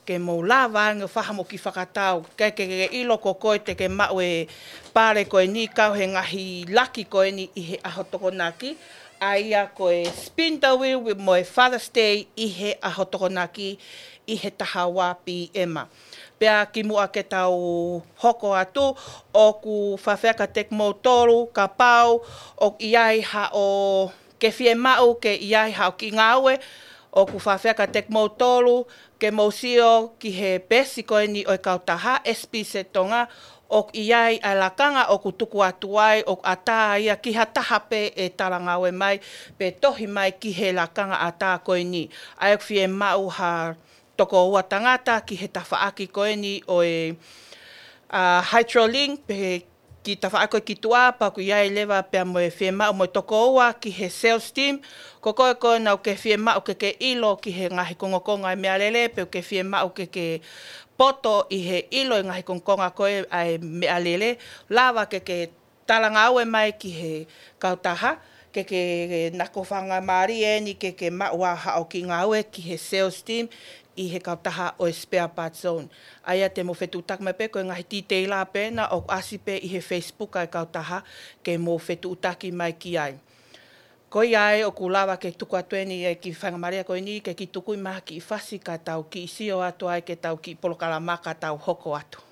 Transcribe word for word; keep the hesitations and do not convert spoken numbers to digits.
ke mou lava ange ʻo fai haʻamou kiʻi fakatau. Ke ke ke ʻilo ko koe te ke maʻu e pale ko eni kau he ngaahi laki ko eni ʻi he ʻaho Tokonaki, ʻa ia ko e spin the wheel mo e Father's Day ʻi he ʻaho Tokonaki ʻi he taha ua P M. Pea kimuʻa ke tau hoko atu, ʻoku faifai kiate kimoutolu, kapau ʻoku ʻi ai haʻo ke fiemaʻu ke ʻi ai haʻo kiʻi ngāue, ʻoku faifai kiate kimoutolu ke mou sio ki he peesi ko eni ʻo e kautaha S P C Tonga, ʻoku ʻi ai ʻa e lakanga ʻoku tuku atu ai, ʻoku ʻatā ia ki ha taha pē ʻe talangāue mai, pe tohi mai ki he lakanga ʻatā ko eni. ʻA ia ʻoku fiemaʻu ha toko ua tangata ki he tafaʻaki ko eni ʻo e, ʻa, Hydrolink, pe ki tafaʻaki ko ē ki tuʻa, pea ʻoku ʻi ai leva pea mo e fiemaʻu mo e toko ua ki he sales team. Ko koe ko ē naʻa ke fiemaʻu ke ke ʻilo ki he ngaahi kongokonga e meʻalele, pe ʻoku ke fiemaʻu ke ke poto ʻi he ʻilo e ngaahi kongokonga ko ē ʻa e meʻalele, lava ke ke talangāue mai ki he kautaha, ke ke nako faingamālie eni ke ke maʻu ʻa haʻo kiʻi ngāue ki he sales team ʻi he kautaha ʻo e Spare Parts Zone. ʻA ia te mou fetuʻutaki mai pē ko e ngaahi titeila pē ena ʻoku ʻasi pē ʻi he Facebook ʻa e kautaha ke mou fetuʻutaki mai ki ai. Ko ia ai ʻoku lava ke tuku atu eni e kiʻi faingamālie ko eni ke kiʻi tuku mai ha kiʻi fasi ka tau kiʻi sio atu ai ki heʻetau kiʻi polokalama ka tau hoko atu.